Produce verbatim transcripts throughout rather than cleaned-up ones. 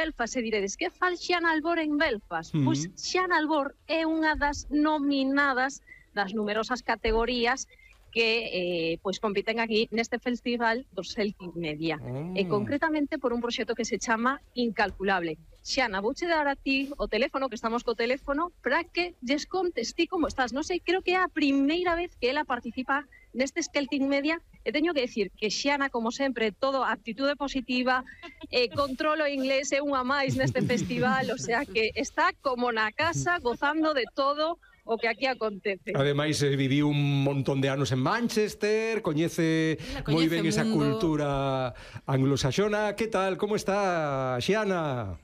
Belfast e diredes, que fal Xiana Albor en Belfast? Mm. Pois Xiana Albor é unha das nominadas das numerosas categorías que eh, pois compiten aquí neste festival do Celtic Media. Mm. E concretamente por un proxecto que se chama Incalculable. Xiana, vouche dar a ti o teléfono, que estamos co teléfono, para que lles contes ti como estás. Non sei, creo que é a primeira vez que ela participa neste Celtic Media, e teño que decir que Xiana, como sempre, todo actitude positiva, eh, controlo inglés, é unha máis neste festival, o sea que está como na casa, gozando de todo o que aquí acontece. Ademais, eh, viviu un montón de anos en Manchester, coñece, coñece moi ben esa mundo. cultura anglosaxona. Que tal? Como está, Xiana?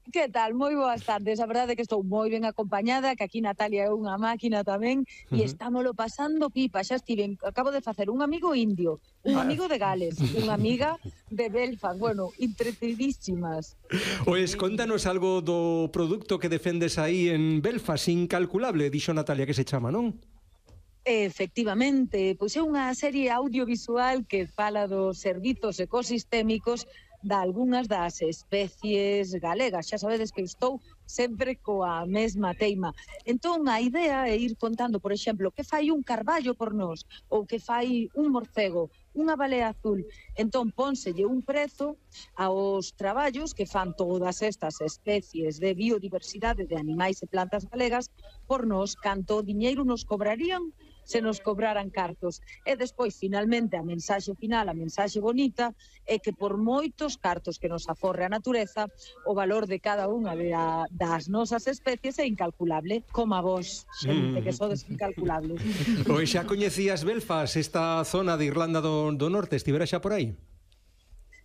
Que tal? Moi boas tardes. A verdade é que estou moi ben acompañada, que aquí Natalia é unha máquina tamén, e estámolo pasando pipa. Xa estiven, acabo de facer un amigo indio, un Ah. amigo de Gales, unha amiga de Belfast. Bueno, entretenidísimas. Pois contanos algo do produto que defendes aí en Belfast, Incalculable, dixo Natalia que se chama, non? Efectivamente, pois é unha serie audiovisual que fala dos servizos ecosistémicos da algunhas das especies galegas. Xa sabedes que estou sempre coa mesma teima. Entón, a idea é ir contando, por exemplo, que fai un carballo por nós, ou que fai un morcego, unha balea azul. Entón, pónselle un prezo aos traballos que fan todas estas especies de biodiversidade de animais e plantas galegas por nós, canto diñeiro nos cobrarían se nos cobraran cartos. E despois, finalmente, a mensaxe final, a mensaxe bonita, é que por moitos cartos que nos aforre a natureza, o valor de cada unha de a, das nosas especies é incalculable, como a vos, xente, que sodes incalculables. Pois xa coñecías Belfast, esta zona de Irlanda do, do Norte, estivera xa por aí?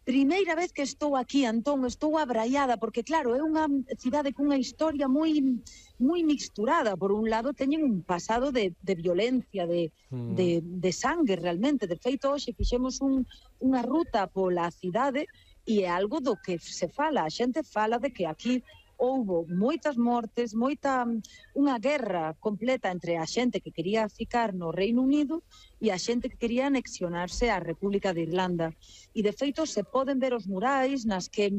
Primeira vez que estou aquí, Antón, estou abraiada, porque claro, é unha cidade cunha historia moi moi mixturada. Por un lado, teñen un pasado de, de violencia, de, Mm. de, de sangue realmente. De feito, hoxe fixemos un, unha ruta pola cidade e é algo do que se fala. A xente fala de que aquí houbo moitas mortes, moita unha guerra completa entre a xente que quería ficar no Reino Unido e a xente que quería anexionarse á República de Irlanda. E de feito se poden ver os murais nas que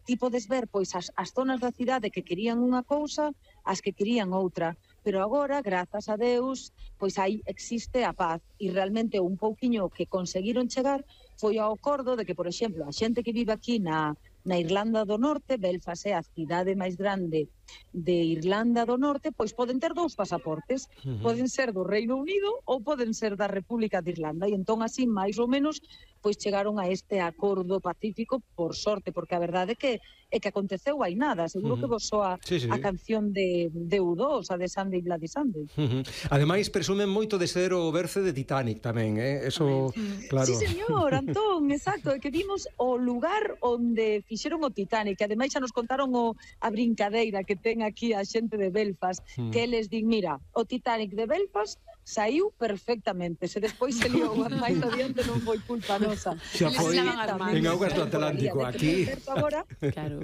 ti podes ver pois as, as zonas da cidade que querían unha cousa, as que querían outra. Pero agora, grazas a Deus, pois aí existe a paz. E realmente un pouquiño que conseguiron chegar foi ao acordo de que, por exemplo, a xente que vive aquí na na Irlanda do Norte, Belfast é a cidade máis grande de Irlanda do Norte, pois poden ter dous pasaportes. Uh-huh. Poden ser do Reino Unido ou poden ser da República de Irlanda. E entón, así, máis ou menos, pois chegaron a este acordo pacífico por sorte, porque a verdade é que é que aconteceu hai nada. Seguro Uh-huh. que vos soa Sí, sí. a canción de, de U dos, a de Sunday Bloody Sunday. Uh-huh. Ademais, presumen moito de ser o berce de Titanic tamén, eh? Eso, claro. Sí, señor, Antón, exacto, é que vimos o lugar onde fixeron o Titanic, que ademais xa nos contaron o, a brincadeira que ten aquí a xente de Belfast, Mm. que eles din, mira, o Titanic de Belfast saiu perfectamente, se despois se liou máis adiante non foi culpa nosa. Xa Eles foi se lavan as mans. en augas do Atlántico, aquí. Agora, Claro.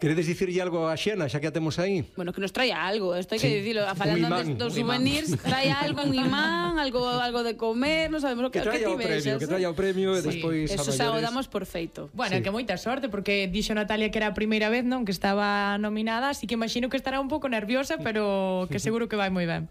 Queredes dicirlle algo a Xiana, xa que a temos aí? Bueno, que nos traia algo, isto hai Sí. que dicilo, a falando Un imán, antes dos un imán. souvenirs, traia algo, un imán, algo algo de comer, non sabemos o que, Que traia que o ti premio, vexas, que traia o premio e Sí, despois a Eso xa o maiores. damos por feito. Bueno, Sí. que moita sorte, porque dixo Natalia que era a primeira vez, non, que estaba nominada, así que imagino que estará un pouco nerviosa, pero que seguro que vai moi ben.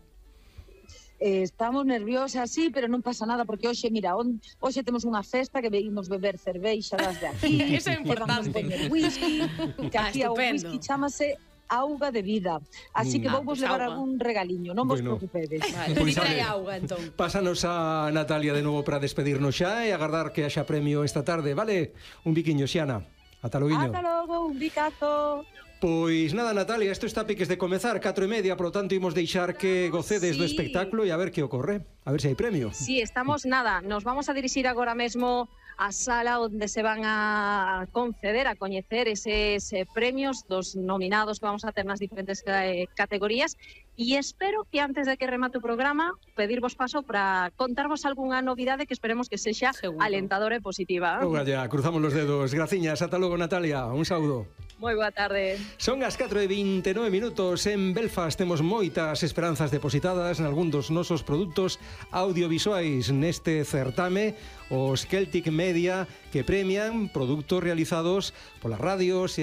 eh, estamos nerviosas, sí, pero non pasa nada, porque hoxe, mira, on, hoxe temos unha festa que veímos beber cerveixa das de aquí. Eso é que vamos importante. poñer whisky, que Ah, aquí o estupendo. whisky chamase auga de vida. Así que Ah, vou vos pues levar auga. algún regaliño, non vos Bueno. preocupedes. Vale, Pois ti trae ale. auga, entón. Pásanos a Natalia de novo para despedirnos xa e agardar que haxa premio esta tarde, vale? Un biquiño, Xiana. Ata loguiño. Ata logo, un bicazo. Pois nada, Natalia, isto está a piques de comezar, catro e media, por lo tanto imos deixar que gocedes do Sí. espectáculo e a ver que ocorre, a ver se hai premio. Sí, estamos nada, nos vamos a dirixir agora mesmo á sala onde se van a conceder, a coñecer eses eh, premios dos nominados que vamos a ter nas diferentes eh, categorías, e espero que antes de que remate o programa pedirvos paso para contarvos algunha novidade que esperemos que sexa Seguro. alentadora e positiva. Oga, ya, cruzamos los dedos. Graciñas, ata logo, Natalia. Un saúdo. Moi boa tarde. Son as catro e vinte e nove minutos. En Belfast temos moitas esperanzas depositadas en algún dos nosos produtos audiovisuais neste certame, os Celtic Media, que premian produtos realizados polas radios e